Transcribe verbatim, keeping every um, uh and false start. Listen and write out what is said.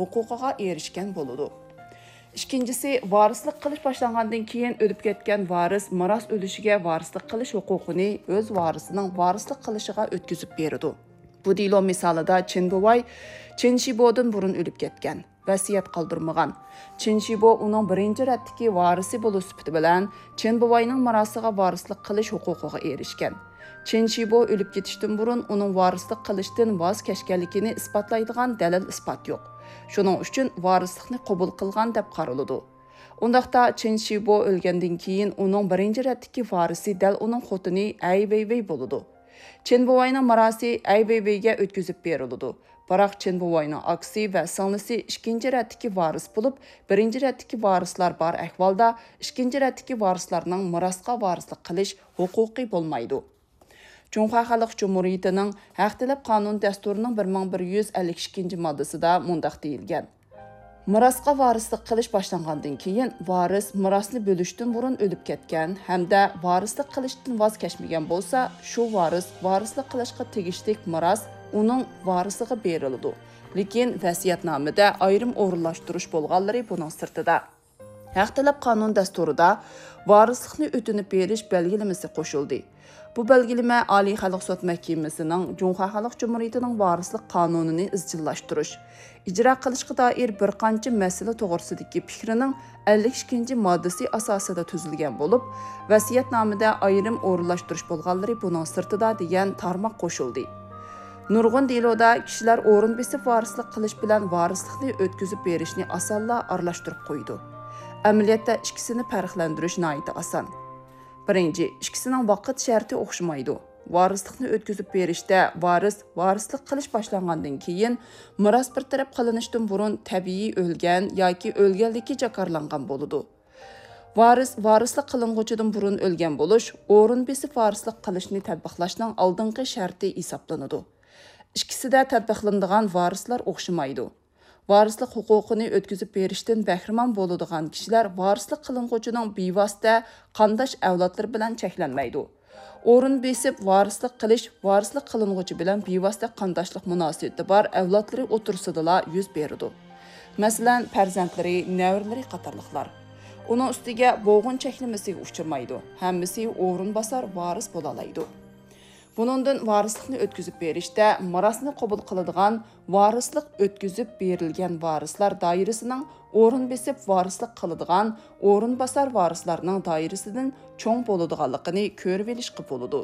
ھوقۇقىغا ئېرىشكەن بولىدۇ. ئىككىنچىسى، ۋارىسلىق قىلىش باشلانغاندىن كېيىن ئۆلۈپ كەتكەن ۋارىس مىراس ئۈلۈشىگە ۋارىسلىق قىلىش ھوقۇقىنى ئۆز ۋارىسىنىڭ ۋارىسلىق قىلىشىغا ئۆتكۈزۈپ بېرىدۇ. بۇ دېلو مىسالىدا چېن بوۋاي چېن شىبودىن بۇرۇن ئۆلۈپ كەتكەن، ۋەسىيەت قالدۇرمىغان. چېن شىبو ئۇنىڭ بىرىنچى رەتتىكى ۋارىسى بولۇش سۈپىتى بىلەن چېن بوۋاينىڭ مىراسىغا ۋارىسلىق قىلىش ھوقۇقىغا ئېرىشكەن. چېن شىبو ئۆلۈپ كېتىشتىن بۇرۇن ئۇنىڭ ۋارىسلىق قىلىشتىن ۋاز كەچكەنلىكىنى ئىسپاتلايدىغان دەلىل-ئىسپات يوق. شۇنىڭ ئۈچۈن ۋارىسلىقنى قوبۇل قىلغان دەپ قارىلىدۇ. ئۇنداقتا چېن شىبو ئۆلگەندىن كېيىن ئۇنىڭ بىرىنچى رەتتىكى ۋارىسى دەل ئۇنىڭ خوتۇنى ئەي ۋېيۋېي بولىدۇ. چېن بوۋاينىڭ مىراسى ئەي ۋېيۋېيگە ئۆتكۈزۈپ بېرىلىدۇ. بىراق چېن بوۋاينىڭ ئاكىسى ۋە سىڭلىسى ئىككىنچى رەتتىكى ۋارىس بولۇپ، بىرىنچى رەتتىكى ۋارىسلار بار ئەھۋالدا، ئىككىنچى رەتتىكى ۋارىسلارنىڭ مىراسقا ۋارىسلىق قىلىش ھوقۇقى بولمايدۇ. جۇڭخۇا خەلق جۇمھۇرىيىتىنىڭ ھەق تەلەپ قانۇن دەستۇرىنىڭ بىر مىڭ بىر يۈز ئەللىك ئىككىنچى ماددىسىدا مۇنداق دېيىلگەن: مىراسقا ۋارىسلىق قىلىش باشلانغاندىن كېيىن، ۋارىس مىراسنى بۆلۈشتىن بۇرۇن ئۆلۈپ كەتكەن ھەمدە ۋارىسلىق قىلىشتىن ۋاز كەچمىگەن بولسا، شۇ ۋارىس ۋارىسلىق قىلىشقا تېگىشلىك مىراس ئۇنىڭ ۋارىسىغا بېرىلىدۇ. لېكىن ۋەسىيەتنامىدە ئايرىم ئورۇنلاشتۇرۇش بولغانلىرى بۇنىڭ سىرتىدا. ھەق تەلەپ قانۇن دەستۇرىدا ۋارىسلىقنى ئۆتۈنۈپ بېرىش بەلگىلىمىسى قوشۇلدى. بۇ بەلگىلىمە ئالىي خەلق سوت مەھكىمىسىنىڭ جۇڭخۇا خەلق جۇمھۇرىيىتىنىڭ ۋارىسلىق قانۇنىنى ئىزچىللاشتۇرۇش، ئىجرا قىلىشقا دائىر بىر قانچە مەسىلە توغرىسىدىكى پىكرىنىڭ ئەللىك ئىككىنچى ماددىسى ئاساسىدا تۈزۈلگەن بولۇپ، ۋەسىيەتنامىدە ئايرىم ئورۇنلاشتۇرۇش بولغانلىرى بۇنىڭ سىرتىدا دېگەن تارماق قوشۇلدى. نۇرغۇن دېلودا كىشىلەر ئورۇن بېسىپ ۋارىسلىق قىلىش بىلەن ۋارىسلىقنى ئۆتكۈزۈپ بېرىشنى ئاسانلا ئارىلاشتۇرۇپ قويىدۇ. ئەمەلىيەتتە ئىككىسىنى پەرقلەندۈرۈش ناھايىتى ئاسان. بىرىنچى، ئىككىسىنىڭ ۋاقىت شەرتى ئوخشىمايدۇ. ۋارىسلىقنى ئۆتكۈزۈپ بېرىشتە ۋارىس ۋارىسلىق قىلىش باشلانغاندىن كېيىن، مىراس بىر تەرەپ قىلىنىشتىن بۇرۇن تەبىئىي ئۆلگەن ياكى ئۆلگەنلىكى جاكارلانغان بولىدۇ. ۋارىس ۋارىسلىق قىلىنغۇچىدىن بۇرۇن ئۆلگەن بولۇش ئورۇن بېسىپ ۋارىسلىق قىلىشنى تەتبىقلاشنىڭ ئالدىنقى شەرتى ھېسابلىنىدۇ. ئىككىسىدە تەتبىقلىنىدىغان ۋارىسلار ئوخشىمايدۇ. ۋارىسلىق ھوقۇقىنى ئۆتكۈزۈپ بېرىشتىن بەھرىمەن بولىدىغان كىشىلەر ۋارىسلىق قىلىنغۇچىنىڭ بىۋاسىتە قانداش ئەۋلادلىرى بىلەن چەكلەنمەيدۇ. ئورۇن بېسىپ ۋارىسلىق قىلىش ۋارىسلىق قىلىنغۇچى بىلەن بىۋاسىتە قانداشلىق مۇناسىۋىتى بار ئەۋلادلىرى ئوتتۇرىسىدىلا يۈز بېرىدۇ. مەسىلەن، پەرزەنتلىرى، نەۋرىلىرى قاتارلىقلار. ئۇنىڭ ئۈستىگە بوغۇن چەكلىمىسىگە ئۇچرىمايدۇ، ھەممىسى ئورۇنباسار ۋارىس بولالايدۇ. بۇنىڭدىن ۋارىسلىقنى ئۆتكۈزۈپ بېرىشتە مىراسنى قوبۇل قىلىدىغان ۋارىسلىق ئۆتكۈزۈپ بېرىلگەن ۋارىسلار دائىرىسىنىڭ ئورۇن بېسىپ ۋارىسلىق قىلىدىغان ئورۇنباسار ۋارىسلارنىڭ دائىرىسىدىن چوڭ بولىدىغانلىقىنى كۆرۈۋېلىشقا بولىدۇ.